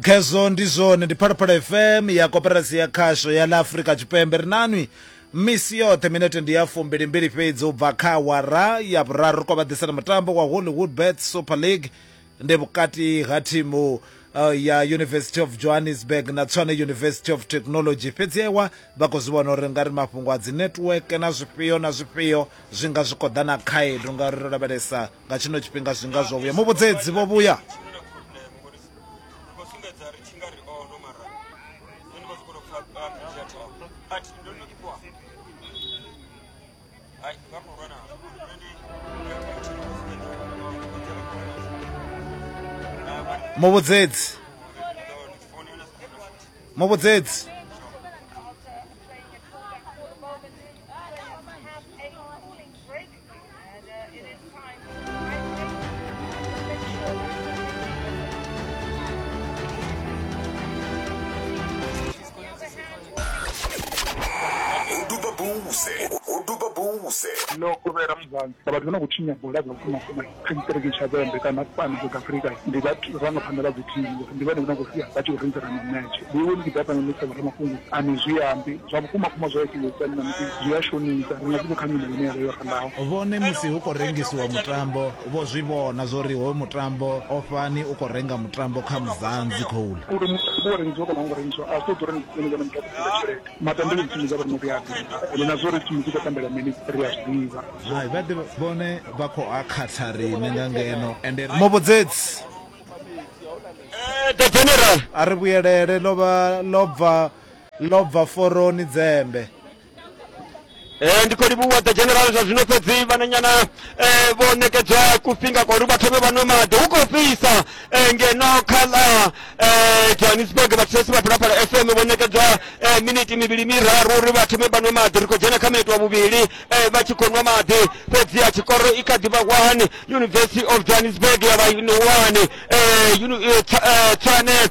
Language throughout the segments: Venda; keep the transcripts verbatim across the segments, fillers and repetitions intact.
Khezwo ndi zwone, ndi Phalaphala F M ya Koporasi ya Khasho ya ḽa Afrika Tshipembe. Ri nanwi misi yoṱhe minete ndi ya fumbilimbili fhedzi u bva kha awara ya vhuraru. Ri khou vha ḓisela mutambo wa Hollywood Bets Super League, ndi vhukati ha thimu uh, ya University of Johannesburg na Tshwane University of Technology. Fhedzi ewa vha khou zwi vhona uri nga ri mafhungo a dzi network na zwifhio na zwifhio zwi nga zwi khou ḓa na khaedu, ngauri ro lavhelesa nga tshino tshifhinga zwi nga zwo vhuya. Muvhudzedzi vho vhuya. Muvhudzedzi, muvhudzedzi, No kovhela Muzanzi vhathu vha na khou tshinya bola dza vhukuma kuma kha tshiṱiriki tsha Vhembe kana fhano South Africa, ndi vhathu vharangaphanḓa vha dzi thimu, ndi vhone vhane khou sia vha tshi khou rengisela mimetshe. Ndi iwe ni tshi ḓa fhano ni sa vhoramafhungo a ni zwi ambi zwa vhukuma kuma zwa itiwa na musi zwi a shonisa, ri nga si vhe kha nyimele ine ya vha yo ralaho. Vhone musi hu khou rengisiwa mutambo vho zwi vhona zwori hoyu mutambo ofhani u khou renga mutambo kha Muzanzi khoula uri mutambo wo rengisiwa kana u ngo rengisiwa a zwi ṱoḓi uri ni vhone muthu a khou tshelede. Matambele dzi thimu dza vhone ri a ḓivha ende na zwo ri thimu dzi khou tambela mini ri a zwi ḓivha. Hai, vha ḓi vhone vha khou akhatha riṋe nga ngeno. Ende muvhudzedzi the general a ri vhuyelele, ḽo vha ḽo bva ḽo bva foroni dzembe. Eh ndi khou livhuwa the general zwa zwino, fhedzi vhananyana eh vho ṋekedzwa kufhinga kwa uri vha thome vha nwe maḓi. Hu khou fhisa ngeno kha ḽa eh Johannesburg. Vhathetshelesi vha Phalaphala F M vho ṋekedzwa miniti mivhili miraru uri vha thome vha nwe maḓi. Ri khou dzhena kha miniti wa vhuvhili vha tshi khou nwa maḓi, fhedzi a tshikoro i kha ḓi vha one University of Johannesburg ya vha one Tshwane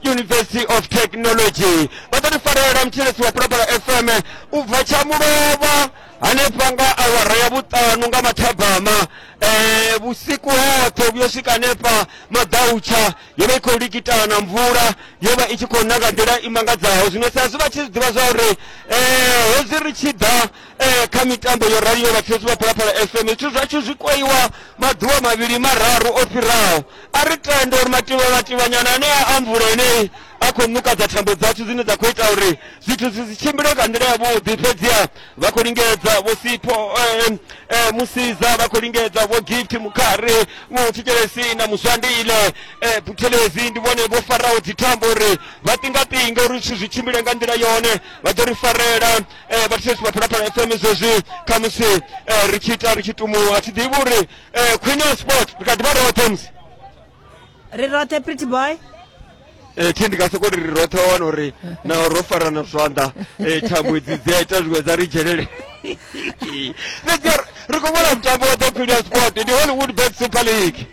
University of Technology. Vha ḓo ri farela mthetshelesi wa Phalaphala F M u bva tsha mulovha hanefha nga awara ya vhuṱanu nga mathabama eh vhusiku hoṱhe vhuyo swika hanefha maḓautsha. Yo vha i khou likitana mvula, yo vha i tshi khou na nga nḓila i mangadzaho. Zwino sa zwi vha tshi zwi ḓivha zwa uri eh hezwi ri tshi ḓa eh kha mitambo yo raliho vhathetshelesi vha Phalaphala F M, zwithu zwashu zwi kweiwa maḓuvha mavhili mararu o fhiraho. A ri tende uri mativha mativhanyana anea a mvula enei a khou ṋukadza thambo dzashu dzine dza khou ita uri zwithu zwi si tshimbile nga nḓila yavhuḓi. Fhedziha vha khou lingedza vho Sipho eh, eh, Musiza, vha khou lingedza vho Gift Mukhari, Muthetshelesi na Muswandile eh, Buthelezi, ndi vhone vho faraho dzithambo uri vha ṱingaṱinge uri zwithu zwi tshimbile nga nḓila yone. Vha ḓo ri farela eh, vhathetshelesi vha Phalaphala F M zwezwi khamusi eh, ri tshi ita ri tshi tumuwa. Thi ḓivhi uri eh, Queen of Sport ri kha ḓi vha roṱhe musi ri roṱhe pretty boy. Eh thi ndi nga soko ri roṱhe wana uri na ro farana zwanḓa eh thambo idzi dzi a ita zwiṅwe dza ri dzhenele. Fhedzi ri khou vhona mutambo wa the Queen of Sport, ndi Hollywood Bet Super League.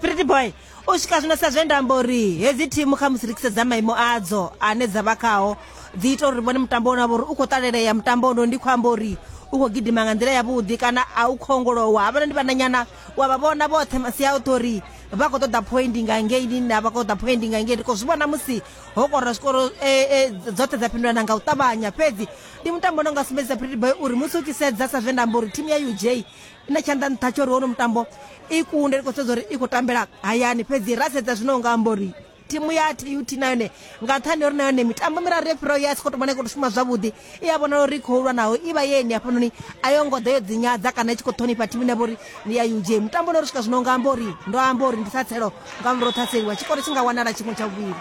Pretty boy, u swika zwino sa zwe nda amba uri hedzi thimu kha musi ri tshi sedza maimo adzo ane dza vha khao dzi ita uri ri vhone mutambo une wa vha uri u khou ṱalelea. Mutambo uno ndi khou amba uri u khou gidima nga nḓila yavhuḓi kana a u khongolowa. Havhala ndi vhananyana wa vha vhona vhoṱhe masia oṱhe uri vha khou ṱoḓa point nga ngeini na vha khou ṱoḓa point nga ngei. Ri khou zwi vhona musi ho kora zwikoro dzoṱhe dza fhindulana nga u ṱavhanya. Fhedzi ndi mutambo une nga sumbedzisa Pretty Boy uri musi u tshi sedza sa zwe nda amba uri thimu ya U J i na tshanḓa nṱha tsho uri hono mutambo i kunde, ri khou sedza uri i khou tambela hayani. Fhedzi ra sedza zwino nga amba uri thimu ya T U T na yone nga nṱhani uri na yone mitambo miraru yo fhiraho ya si khou tou vhona i khou tou shuma zwavhuḓi, i a vhonala uri i khou lwa naho i vha yeni hafhanoni a yo ngo ḓa yo dzinyadza kana i tshi khou ṱhonifha thimu ine ya vha uri ndi ya U J. Mutambo une uri swika zwino nga amba uri ndo amba uri ndi ṱhatselo nga murahu ṱhaseliwa tshikoro tshi nga wanala tshiṅwe tsha vhuvhili.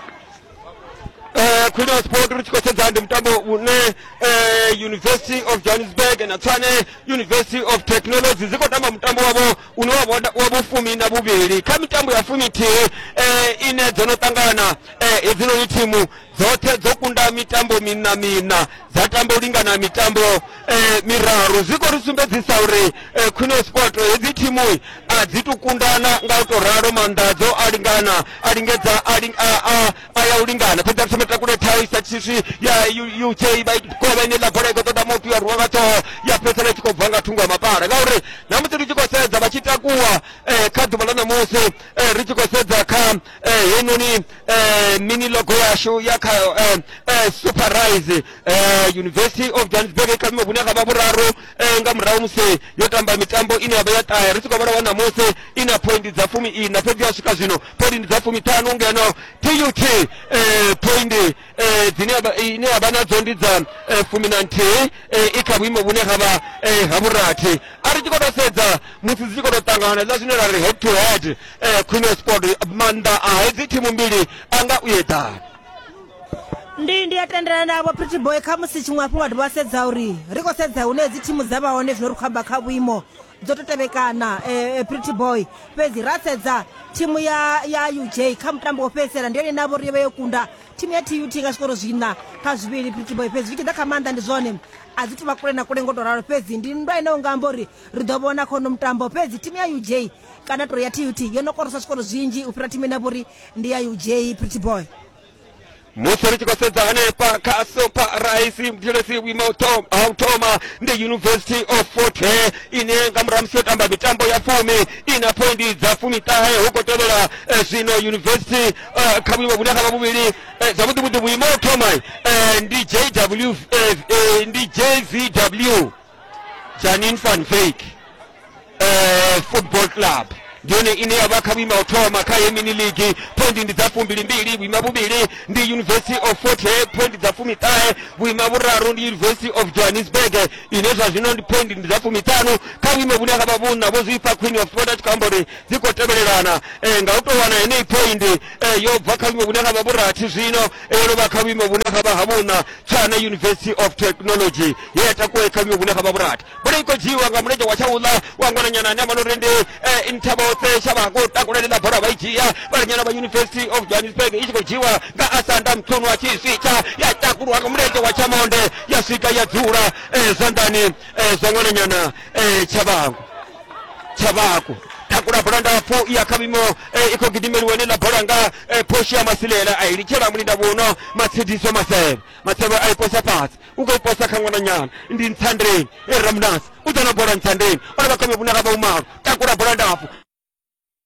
Eh Queen of Sport ri tshi khou sedza ndi mutambo une eh University of Johannesburg na Tshwane University of Technology dzi khou tamba mutambo wavho une wa wa vhufumi na vhuvhili kha mitambo ya fumithihi eh ine dzo no ṱangana. Eh hedzinoni thimu dzoṱhe dzo kunda mitambo mina mina dza tamba u lingana mitambo eh miraru. Zwi khou ri sumbedzisa uri eh, Queen of Sport hedzi thimu a a dzi tu kundana nga u to ralo maanḓadzo a lingana a lingedza a a a ya u lingana fhedzi thoma takule thai sa tshiswi ya U J vha kovha ine ḽa bola i khou ṱoḓa muthu ya rwa nga ṱhoho ya fhedzisela i tshi khou bva nga thungo ya mapala ngauri na musi ri tshi khou sedza vha tshi takuwa kha ḓuvha ḽa ṋamusi ri tshi khou sedza kha heinoni mini logo yashu ya kha Super Rise University of Johannesburg kha vhuimo vhune ha vha vhuraru nga murahu musi yo tamba mitambo ine ya vha ya ṱahe ri tshi khou vhala wa ṋamusi i na pointi dza fumi ina fhedzi ya swika zwino pointi dza fumiṱhanu ngeno T U T pointi dzine ine ya vha nadzo ndi dza fumi na nthihi i kha vhuimo vhune ha vha ha vhurathi a ri tshi khou tou sedza musi dzi tshi khou tou ṱangana hezwiḽa zwine ra ri head to head Queen of Sport maanḓa a hedzi thimu mbili a nga u eḓana. Ndi ndi a tendelana navho Pretty Boy kha musi tshiṅwe hafhu wa dovha sedza uri ri khou sedza hune hedzi thimu dza vha hone zwino ri khou amba kha vhuimo dzo to tevhekana eh, Pretty Boy fhedzi ra sedza thimu ya ya U J kha mutambo wo fhedzisela ndi yone navho ri vha yo kunda thimu ya T U T nga zwikoro zwiṋa kha zwivhili Pretty Boy fhedzi zwi tshi ḓa kha maanḓa ndi zwone a dzi tuvha kule na kule ngo to ralo fhedzi ndi nndwa ine unga amba uri ri ḓo vhona khono mutambo fhedzi thimu ya U J kana to ya T U T yo no korosa zwikoro zwinzhi u fhira thimu ine vho ri ndi ya U J Pretty Boy. Musi ri tshi khou sedza hanefha kha Super Rise muthelesi vhuimo ha u thoma ndi University of Fort Hare ine nga murahu musi yo tamba mitambo ya fumi i na pointi dza fumiṱahe hu khou tevhela zwino University kha vhuimo vhune ha vha vhuvhili zwavhuḓi vhuḓi vhuimo ha u thoma ndi J W ndi J V W Janine van Wyk Football Club ndi yone ine ya vha kha vhuimo ha u thoma kha mini league pointi ndi dza fumbilimbili vhuima vhuvhili ndi University of Fort Hare pointi dza fumiṱahe vhuima vhuraru ndi University of Johannesburg ine zwa zwino ndi pointi ndi dza fumiṱhanu kha vhuimo vhune ha vha vhuṋa vho zwi fha Queen of Sport a tshi khou amba uri dzi khou tevhelelana nga u tou wana heneyi pointi yo bva kha vhuimo vhune ha vha vhurathi zwino yo no vha kha vhuimo vhune ha vha ha vhuṋa Tshwane University of Technology ye ya takuwa kha vhuimo vhune ha vha vhurathi bola i khou dzhiiwa nga mulenzhe wa tshauḽa wa ṅwananyana ane a vha uri ndi Nthabotse Shabako takulela bola vha i dzhia vhalinyana vha University of Johannesburg i tshi khou dzhiwa nga Asanda Mthunu wa tshiswitsha ya takulwa nga mulenzhe wa tshamonde ya swika ya dzula zwanḓani zwa ṅwananyana Tshabangu Tshabaku takula bola ndapfu ya kha vhuimo i khou gidimeliwa ine ḽa bola nga Portia Masilela a i litshela mulinda vhuno Matshidiso Masebe Masebe a i posa fhasi u khou i posa kha ṅwananyana ndi Ntsandeni Ramnasi u ḓo na bola Ntsandeni o vha kha vhuimo vhune ha vha vhumalo takula bola ndapfu